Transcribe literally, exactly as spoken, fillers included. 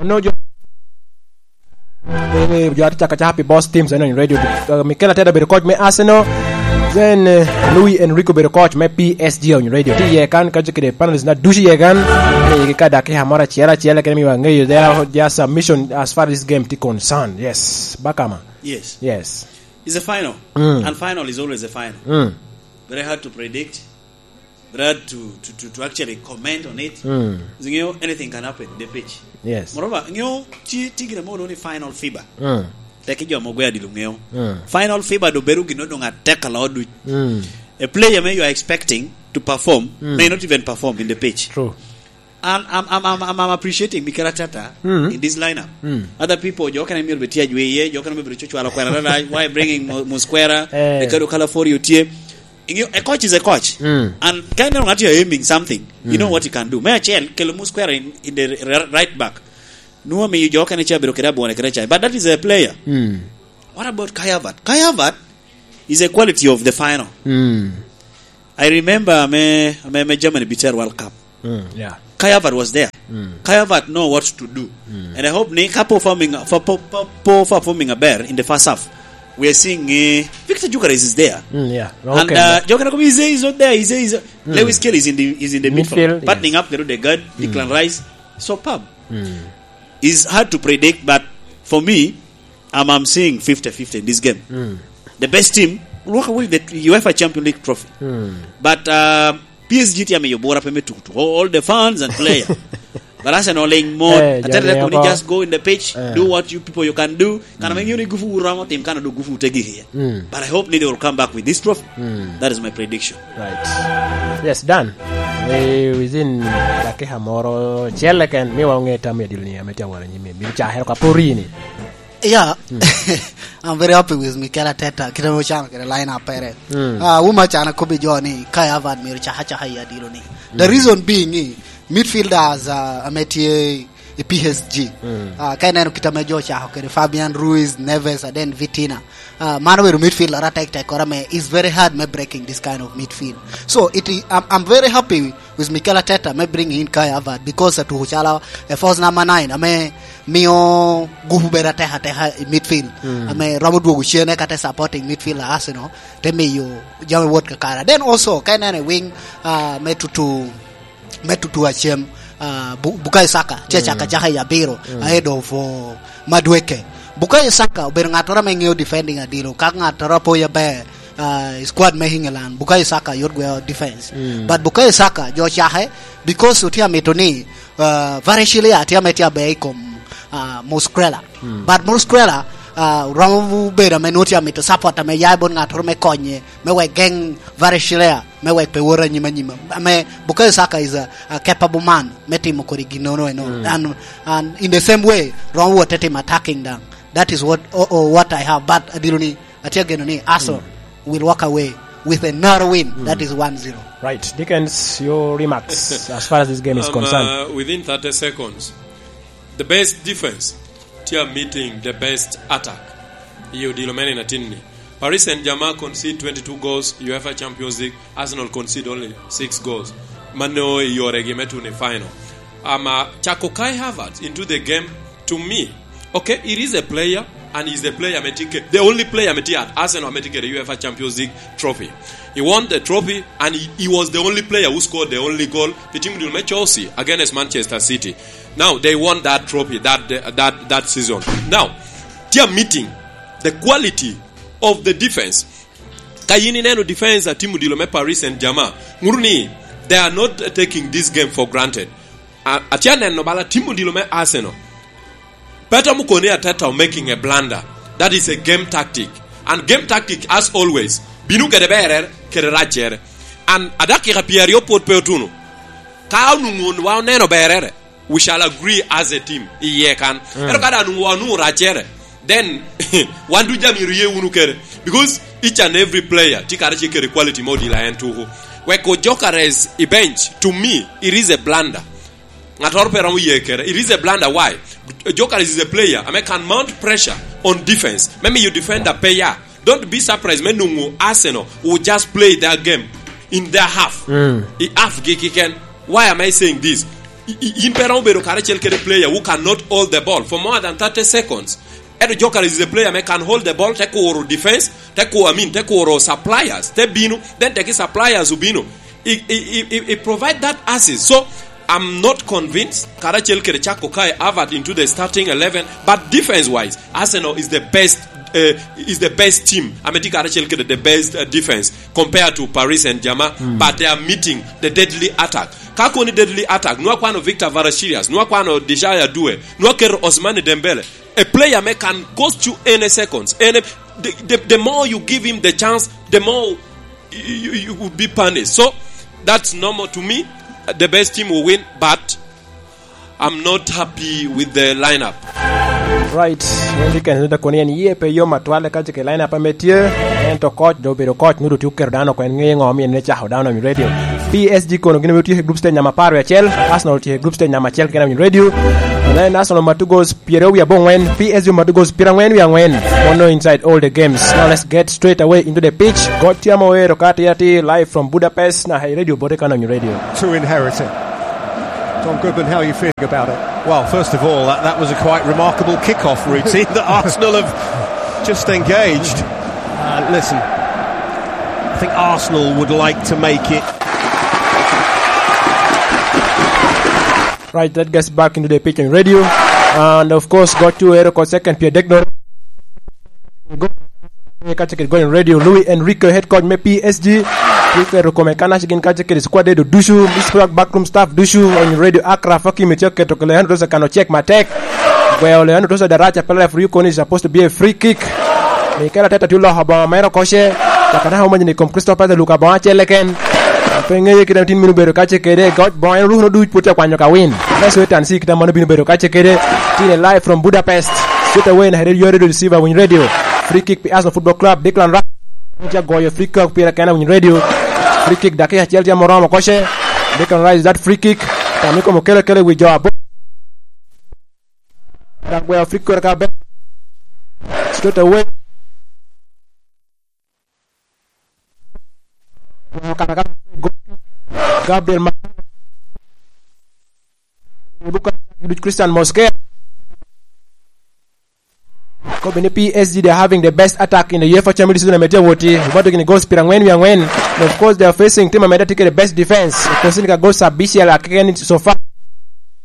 Onongo jo, eh, jo atye caka caka pi boss teams eno in radio. Uh, Mikel Arteta obedo coach me Arsenal. Then, eh, Luis Enrique obedo coach me P S G in radio. Tye iye kan, kacel kede panelist na ducu iye kan. Eh, ka dakika moro acel acel, kene miwa ngeyo their, their submission as far as this game tye concerned. Yes. Bakama. Yes. Yes. It's a final. Mm. And final is always a final. Mm. Very hard to predict. Very hard to, to, to, to actually comment on it. Mm. You know, anything can happen in the pitch. Yes. Moreover, you know, ti, ti gire mo ni final fever. Mm. Teki jo mo gwe adilo ngeo. Mm. Final fever do beru gino dong atek a lo duc. Mm. A player me you are expecting to perform, mm, may not even perform in the pitch. True. And I'm, I'm, I'm, I'm, I'm appreciating Mikel Arteta, mm, in this lineup. Mm. Other people, jo kene myero beti ajwe ye, jo kene myero beti cwalo kwena, why bringing Mo-, Mosquera, eh, the Kado Calafiori otie. You know, a coach is a coach. Mm. And kind of not you're aiming something, you know, mm, what he can do. Me acel, kelo Mosquera in, in the r-, r-, right back. No, me you joke and a chair, but that is a player. Mm. What about Kai Havertz? Kai Havertz is a quality of the final. Mm. I remember me, me, me Germany beat World Cup. Mm, yeah. Kai Havertz was there. Mm. Kai Havertz know what to do. Mm. And I hope ni ka performing, for, for, for, for performing a better in the first half, we are seeing, uh, Viktor Gyökeres is there. Mm, yeah. And, okay, uh, yeah. Joker is, is not there. Is, is, mm, Lewis Skelly is in the, is in the midfield, midfield, yes, buttoning up the Odegaard, mm, Declan Rice. So, Pab. Mm. It's hard to predict, but for me, I'm, I'm seeing fifty fifty in this game. Mm. The best team will walk away with the UEFA Champions League trophy. Mm. But, uh, P S G tye amiyo bura pe me tuku tuku. All the fans and player. But Arsenal ling mot. Eh, Arteta jami koni oko. Just go in the pitch, eh, do what you people you can do. Kana, mm, me ng'eyo ni gufu romo tim kana do gufu tegi here. Mm. But I hope ni they will come back with this trophy. Mm. That is my prediction. Right. Yes, done. Eh, within dakika moro, cel eken, mi wa onge tam ya dilo ni ame tye awara nyime. Bino cakere ka pori ni. Yeah. Mm. I'm very happy with Mikel Arteta. Kite mo chano kede line up pere. Mm. Ah, wuma chana kobi jo ni Kai Havertz miro chaka chaka ya dilo ni. The, mm, reason being ni midfielders, uh, ame tye i P S G. Mm. Ah, ka ineno kit ame jo chako kede Fabian Ruiz, Neves, and then Vitinha. Ah, mano bedo midfielder atek tek kore ame is very hard me breaking this kind of midfield. So, it, I'm, I'm very happy with Mikel Arteta me bring in Kai Havertz because atuko calo a false number nine ame mio gupu bedo atek ateka i midfield. Mm. Ame romo dwogo cene kata supporting midfield a Arsenal te miyo jami wot kakare. Then also, ka ineno i wing, ah, me tutu me tutu acem, ah, Bu-, Bukayo Saka, tye, mm, caka caka i abiro, mm, ahead of, oh, Madueke. Bukayo Saka obedo ŋattoro ame ŋeo defending adilo, ka ŋattoro apoyo aber, ah, i squad me England, Bukayo Saka yot gweo defense. Mm. But Bukayo Saka, jo cake, because otye amito ni, ah, Vareshilea tye ame tye aber i kom, ah, Muskrela. Mm. But Muskrela, ah, romo bedo ame nwoŋo tye amito support ame ya i bot ŋattoro me konye, me wek geŋ Vareshilea me wek pe wot anyim anyim. Ame Bukayo Saka is a, a capable man me timo kodi ginnono eno. Mm. And, and in the same way, romo wot te timo attacking daŋ. That is what, oh, oh, what I have. But adilo ni, atye ageno ni Arsenal, mm, will walk away with a narrow win. Mm. That is one zero. Right. Dickens, your remarks as far as this game is, um, concerned. Uh, within thirty seconds, the best defense tye meeting the best attack. Iyo dilo mene na tin ni. Paris Saint-Germain concede twenty-two goals, UEFA Champions League, Arsenal concede only six goals. Mano i yoregi me tuno i final. Ama cako Kai Havertz into the game, to me, okay, it is a player, and he's the player me tye ke-, the only player me tye at Arsenal me tye kede UEFA Champions League trophy. He won the trophy, and he, he was the only player who scored the only goal. The team dil me Chelsea against Manchester City. Now, they won that trophy that, that, that season. Now, they are meeting the quality of the defense. Ka yin ineno defense a team odilo me Paris Saint-Germain, ŋuto ni they are not taking this game for granted. A-, atye aneno bala team odilo me Arsenal. Peter Mukone Arteta are making a blunder. That is a game tactic. And game tactic, as always, bino kede berere, kede racere. And adakika pyeraryo pwod pe otuno. Ka onwoŋo wa oneno berere, we shall agree as a team iye kan. Mm. Ento ka daŋ onwoŋo wa onwoŋo racere, then wan ducu jami myero ye wunu kede. Because each and every player tye kara tye kede quality mo odilo en tuku. Wek Gyökeres i bench, to me, it is a blunder. Ŋattoro pe romo ye kede. It is a blunder. Why? Gyökeres is a player ame can mount pressure on defense. Me miyo defender pe ya. Don't be surprised me nwoŋo Arsenal will just play their game in their half. Mm. I half gi kiken. Why am I saying this? I- i- in pe romo bedo karacel kede player who cannot hold the ball for more than thirty seconds. Edo Gyökeres is a player me can hold the ball, te kuro defense, te kuro, I mean, te kuro suppliers, te bino, then te ki suppliers obino. He, he, he, he he provide that assist. So I'm not convinced karacel kede cako Kai Havertz into the starting eleven, but defense wise, Arsenal is the best, uh, is the best team. Ame tye karacel kede the best, uh, defense compared to Paris Saint-Germain, but they are meeting the deadly attack. Ka koni deadly attack, nwa kwano Victor Kvaratskhelia, nwa kwano Djei Doucouré, nwa keto Ousmane Dembele, a player me can cost you any seconds. Any, the, the, the more you give him the chance, the more you, you, you would be punished. So that's normal to me. The best team will win, but I'm not happy with the lineup. Right. Wendi ken da koni en yie pe yom atwale ka jike lineup ame tye. Ento coach do bedo coach, nudo tye oketo dano kwen ŋe ŋo omien ne cako dano i radio. P S G kono gin obitye i group stage namba apar wie acel, Arsenal tye i group stage namba acel kena i radio. Then Arsenal matugo pyeraryo wie aboŋwen, P S G matugo pyerangwen wie angwen. Mono inside all the games. Now let's get straight away into the pitch. Got Tiamo Ero Kati Ati live from Budapest na hey radio bote kena i radio. To inherit it. Tom Goodman, how are you feeling about it? Well, first of all, that, that was a quite remarkable kick-off routine that Arsenal have just engaged. Uh, listen, I think Arsenal would like to make it. Right, that gets back into the pitch on radio. And of course, got to Eric second, Pierre Degno. Ka cakit gol in radio, Luis Enrique, head coach me P S G. Enrique rukome kanac gin ka cakit squad edo ducu, Miss Rock backroom staff ducu, on radio Akraf Hakimi tye oketo ke Leandro Tosa kano cek matek. Gweo Leandro Tosa daraca pala referee kono is supposed to be a free kick. Mikel Arteta tye oloko boŋo mere okoce. Caka naka omanyo ni kom Crystal Palace luka boŋo acel eken. Pe ŋeye kit atin mino bedo kace kede, goc boŋo en oruko duc put akwanyo ka win. Let's wait and see kit amano bino bedo kace kede. Tine live from Budapest. Straight away na Herero Yore Receiver Win Radio. Free kick pi Arsenal Football Club. Declan Rice. Tye agoyo free kick pire kena Win Radio. Free kick dakika acel tye moromo koce. Declan Rice that free kick. Tami komo kele kele wi jo abo. Dak gweo free kick ka be. Straight away. Gabriel Ma-, Christian Mosquera. Kobe ni P S G, they're having the best attack in the UEFA Champions League season ame tye awoti. Obato gini goals pyerangwen wie angwen. And of course, they are facing team ame tye kede best defense. Kosin ka goals abicel akeken so far.